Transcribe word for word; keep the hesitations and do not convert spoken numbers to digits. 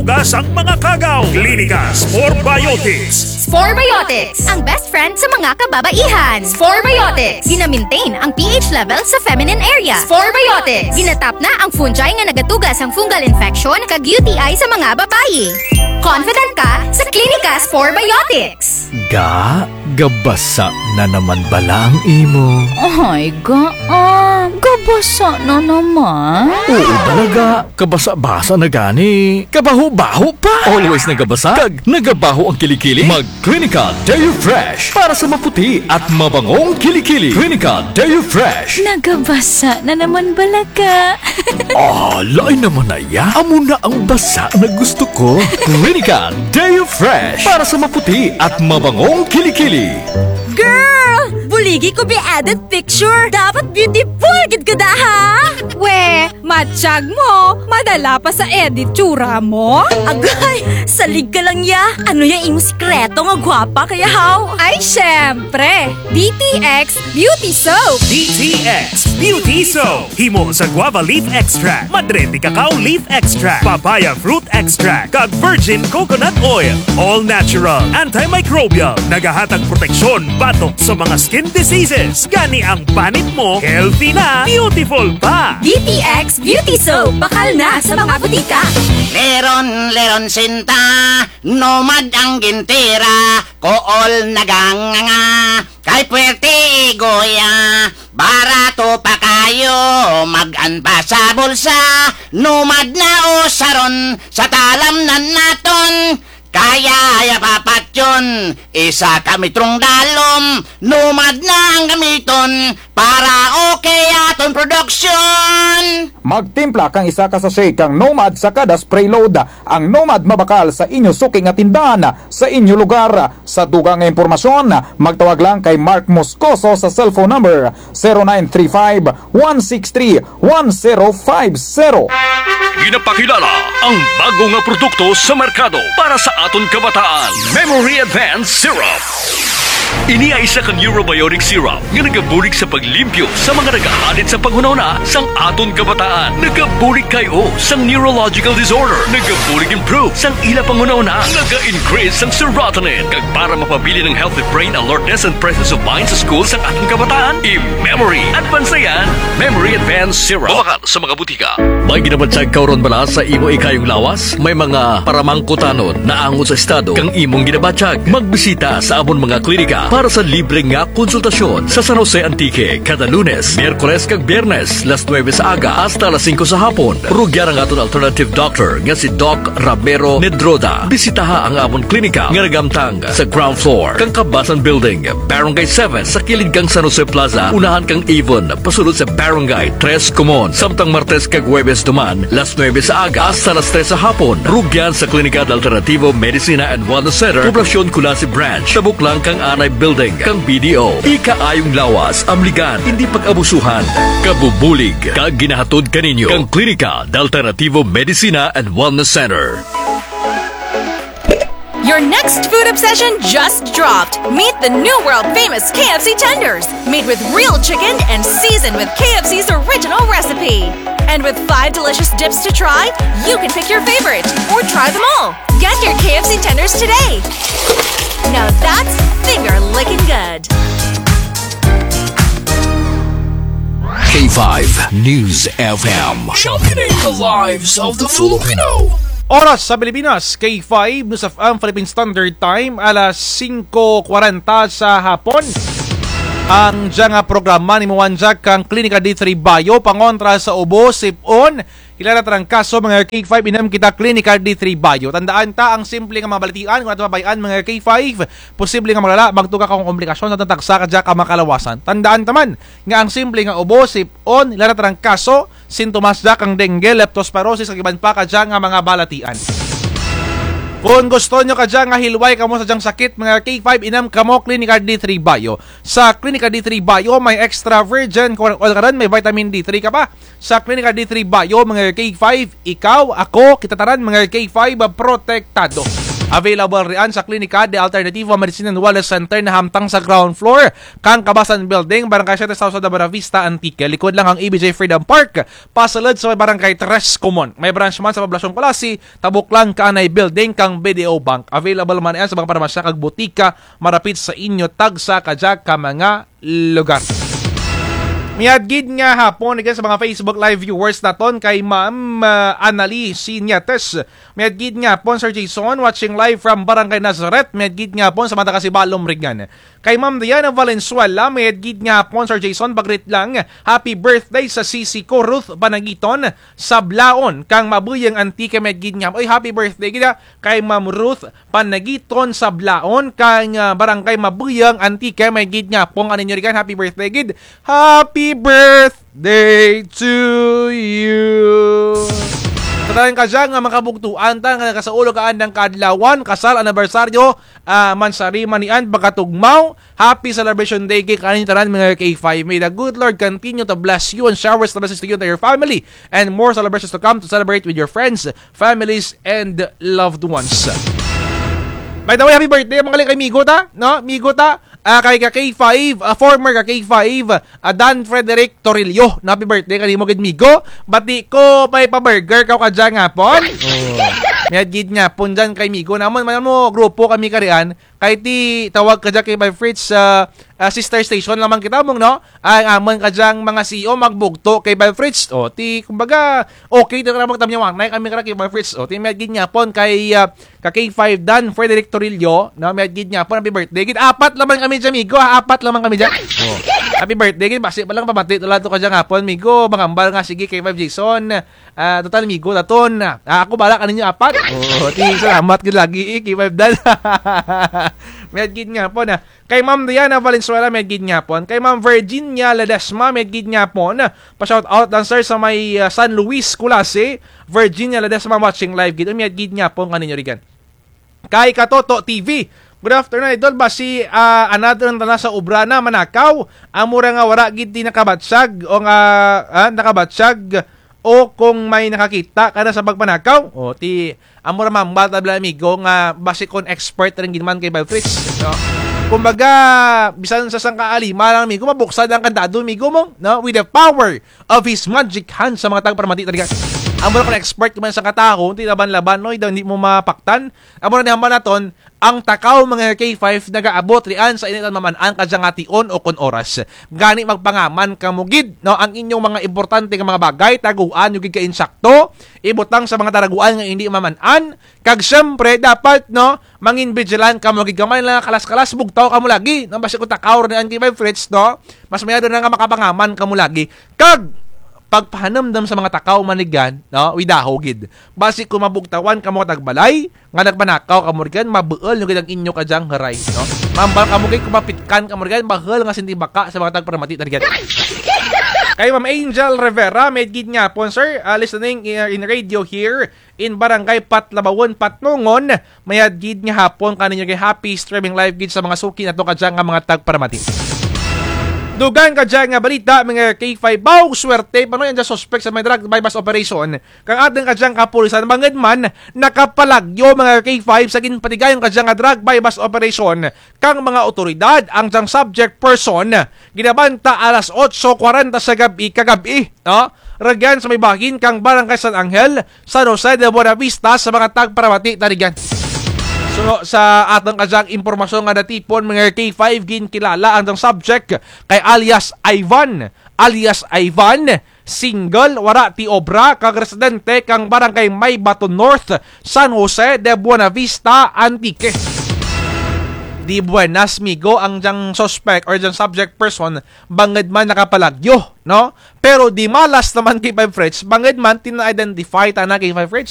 Kasang mga kagaw, Klinika Spore Biotics. Spore Biotics, ang best friend sa mga kababaihan. Spore Biotics, gina-maintain ang P H level sa feminine area. Spore Biotics, ginatap na ang fungi nga nagatuga sang fungal infection kag U T I sa mga babayi. Confident ka sa Klinika Spore Biotics. Ga, gabasa na naman bala ang imo? Ay, Ga, ah, gabasa na naman? Oo bala, Ga. Kabasa-basa na gani. Kabaho-baho pa. Always nagabasa kag nagabaho ang kilikili. Mag Klinika Deo Fresh para sa maputi at mabangong kilikili. Klinika Deo Fresh. Nagabasa na naman bala, Ga. Ah, lain naman na ya. Amo na ang basa na gusto ko. Klinika Deo Fresh para sa maputi at mabangong kilikili. Girl! Buligi ko bi edit picture. Dapat beautiful gid ka da, ha? We, matyag mo, madala pa sa edit tsura mo? Agay, salig ka lang ya. Ano ya imo sikreto nga gwapa ka ya, haw? Ay, syempre, D T X Beauty Soap. D T X Beauty Soap. Himo sa guava leaf extract, madre de cacao leaf extract, papaya fruit extract, kag virgin coconut oil. All natural, antimicrobial, nagahatag proteksyon batok sa mga skin diseases. Gani ang panit mo, healthy na, beautiful pa. D T X Beauty Soap, bakal na sa mga butika. Leron, leron sinta, Nomad ang gintira, kool naganganga. Kay puwerte igoya, barato pa kayo, mag-an pa sa bulsa. Nomad na usaron, sa talamnan naton. Kaya ya papatyon, isa ka metrong dalom. Nomad na ang gamiton, para okay aton production. Magtimpla kang isa ka sachet kang Nomad sa kada spray load. Ang Nomad mabakal sa inyo suki nga tindahan, sa inyo lugar. Sa dugang nga impormasyon, magtawag lang kay Mark Moscoso sa cellphone number zero nine three five, one six three, one zero five zero. Ginapakilala ang bago nga produkto sa merkado para sa aton kabataan, Memory Advance Syrup. Ini ay isa ka neurobiotic syrup nga nagabulig sa paglimpyo sa mga nagahalit sa panghunahuna sang aton kabataan. Nagabulig kay o sang neurological disorder. Nagabulig improve sang ila panghunahuna. Naga-increase sang serotonin. Kag para mapabilin ang healthy brain alertness and presence of mind sa school sang aton kabataan, i-Memory Advance na yan. Memory Advance Syrup. Mabakal sa mga butika. May ginabatyag ka run bala sa imo ikayong lawas? May mga paramangkutanon naangot sa estado kang imong ginabatyag? Magbisita sa amon mga klinika para sa libre nga konsultasyon sa San Jose, Antique, kada Lunes, Miyerkules kag Biyernes, las nuebe sa aga hasta las singko sa hapon. Rugyan ang aton alternative doctor nga si Doc Ramiro Nedroda. Bisitaha ang amon klinika nga nagamtang sa ground floor kang Kabasan Building, Barangay seven, sa kilid kang San Jose Plaza, unahan kang Avon, pasulod sa Barangay Tres Comuns. Samtang Martes kag Huwebes duman, las nuebe sa aga hasta las tres sa hapon. Rugyan sa Klinika de Alternativo Medicina and Wellness Center, Poblacion Culasi Branch, tabok lang kang anay building kang B D O. Ikaayong lawas, amligan, indi pag-abusuhan. Kabubulig kag ginahatod kaninyo kang Klinika de Alternativo Medicina and Wellness Center. Your next food obsession just dropped. Meet the new world famous K F C tenders, made with real chicken and seasoned with K F C's original recipe. And with five delicious dips to try, you can pick your favorite or try them all. Get your K F C tenders today. Now that's finger licking good. K five News F M. Championing the lives of the Filipino. Oras sa Pilipinas, K five News F M Philippine Standard Time, alas singko kwarenta sa hapon. Ang dya nga programa naimuan dya kang Klinika D three Bio, pangontra sa ubo, sip-on, Hilara trangkaso, mga K five, inum kita Klinika D three Bio. Tandaan ta ang simple nga mga balatian, kon aton mabay-an, mga K five, posible nga maglala, magtuga ka kang komplikasyon sa tagsa kadya ka mga kalawasan. Tandaan ta man nga ang simple nga ubo, sip-on, hilara trangkaso, sintomas dya kang dengue, leptospirosis, kag iban pa kadya nga mga balatian. Kon gusto nyo kadya nga hilway kamo sa dyang sakit, mga K five, inum kamo Klinika D three Bio. Sa Klinika D three Bio, may extra virgin corn oil ka run, may vitamin D three ka pa. Sa Klinika D three Bio, mga K five, ikaw, ako, kita tanan, mga K five, protektado. Available rian sa Klinika de Alternativo Medicine and Wellness Center na hamtang sa ground floor kang Kabasan Building, Barangay Siete South, sa Buenavista, Antique. Likod lang kang E B J Freedom Park, pasulod sa may Barangay Tres Common. May branch man sa Poblacion Culasi, tabok lang kaanay building kang B D O Bank. Available man rian sa mga parmasya kag butika marapit sa inyo tagsa kadya ka mga lugar. Mayad gid nga hapon, again, sa mga Facebook Live viewers naton, kay Ma'am, ah, Annalie Sinetes. Mayad gid nga hapon, Sir Jason, watching live from Barangay Nazareth. Mayad gid nga hapon sa mga taga Sibalom, Regan. Kay Ma'am Diana Valenzuela, mayad gid nga hapon, Sir Jason, pag-greet lang. Happy birthday sa sisi ko, Ruth Panagiton, Sablaon, kang Mabuyang, Antique, mayad gid nga. Oy, happy birthday gid, ah, kay Ma'am Ruth Panagiton, Sablaon, kang, ah, Barangay Mabuyang, Antique, mayad gid nga hapon kaninyo rigan. Happy birthday gid. Happy birthday to you. Sa tanan kadya nga mga kabugtuan ta nga nagasaul kang andang kaadlawan, kasal, anibersaryo, ah, mansari man rian, pagkatugmaw, happy celebration day gid kaninyo tanan, mga K five. May the good Lord continue to bless you and showers of blessings to you and to your family, and more celebrations to come to celebrate with your friends, families, and loved ones. By the way, happy birthday, mga kali, kay migo ta, no? Migo ta, ah, kay ka K five, ah, former ka K five, ah, Dan Frederick Torillo. Na happy birthday kanimo gid, migo. Bati ko may pa-burger kaw kadya nga hapon. Oh. Mayad gid nga hapon dyan kay migo. Namon man mo, grupo kami karian. Kay ti tawag kadya kay Bay Fritz, ah, ah, sister station lang man kita mong, no? Ay, ang amon kadyang mga C E O magbugto kay Bay Fritz. O, ti, kumbaga, okay, ti kara magtamyawanay kami kara kay Bay Fritz. O, ti, mayad gid nga hapon kay, ah, ka K five Dan Frederick Torillo, no? Mayad gid nga hapon, happy birthday. Gid, apat lang man kami dyan, migo, ha? Apat lang man kami dyan. O. Happy birthday, gid, basi pa lang pamati, tula to kadya nga hapon, migo, mangambal nga, sige, K five Jason. Ah, total, migo ta ton. Ah, ako bahala kaninyo apat. O, ti, salamat gid lagi, eh, K five Dan. Mayad gid nga hapon, ah. Kay Ma'am Diana Valenzuela, mayad gid nga hapon. Kay Ma'am Virginia Ledesma, mayad gid nga hapon. Pa-shout out lang, sir, sa may, ah, San Luis, Culasi. Virginia Ledesma watching live gid. Mayad gid nga hapon kaninyo rigan. Kay Katoto T V. Good afternoon, idol. Basi, ah, another na tana sa obra na manakaw. Amo ra nga wara gid ti nakabatyag o nga, ah, nakabatyag o kung may nakakita kana sa pagpanakaw. O, ti, amo ra mambal ta bala, amigo, nga basi kon expert rin gid man kay Bay Fritz, no? Kumbaga, bisan sa sangka alima lang, amigo, mabuksad ang kandado, amigo mo, no? With the power of his magic hand sa mga tagparamati talaga. Amo ra kon expert man sa kataho, ti laban-laban, no? Indi mo mapaktan. Amo ra ni hambal naton, ang takaw, mga K five, nagaabot rian sa indi tana maman-an kadya nga tion o kon oras. Gani magpangaman kamo gid, no, ang inyong mga importante nga mga bagay, taguan nyo gid ka insakto, ibutang sa mga taraguan nga indi maman-an, kag siyempre, dapat, no, mangin vigilant kamo gid, kamay lang kalas-kalas, bugtaw kamo lagi, no, basi kon takaw rian kay Bay Fritz, no, mas mayad na nga makapangaman kamo lagi. Kag, pagpahanumdum sa mga takaw man rigan, no, widaho gid. Basi kon mabugtawan kamo tagbalay, nga nagpanakaw kamo rigan, mabuul nyo gid ang inyo kadyang haray, no? Mambal kamo gid, kon mapitkan kamo rigan, bahul nga sindi baka sa mga tagparamati ta rigan. Kay Ma'am Angel Rivera, mayad gid nga hapon, sir. Ah, listening, uh, in radio here in Barangay Patlabawan, Patnongon. Mayad gid nga hapon kaninyo kay happy streaming live gid sa mga suki nato kadya nga mga tagparamati. Dugang kadya nga balita, mga K five, baw, swerte pa no, ang suspect sa may drug buy-bust operation. Kang atun kadyang kapulisan, bangud man, nakapalagyo, mga K five, sa ginpatigayon kadya nga drug buy-bust operation kang mga awtoridad, ang dyang subject person, ginabanta alas otso kwarenta sa gab-i, kagab-i, no? Rugyan sa may bahin kang Barangay San Angel, San Jose de Buenavista, sa mga tagparamati ta rugyan. So, sa atun kadyang impormasyon nga natipon, mga K five, ginkilala ang dyang subject kay alias Ivan, alias Ivan, single, wara ti obra, kag residente kang Barangay Maybaton North, San Jose de Buenavista, Antique. Di buenas, migo, ang dyang suspect or dyang subject person, bangud man nakapalagyo, no? Pero di malas naman kay Five Fritz, bangud man ti na-identify tana kay Five Fritz.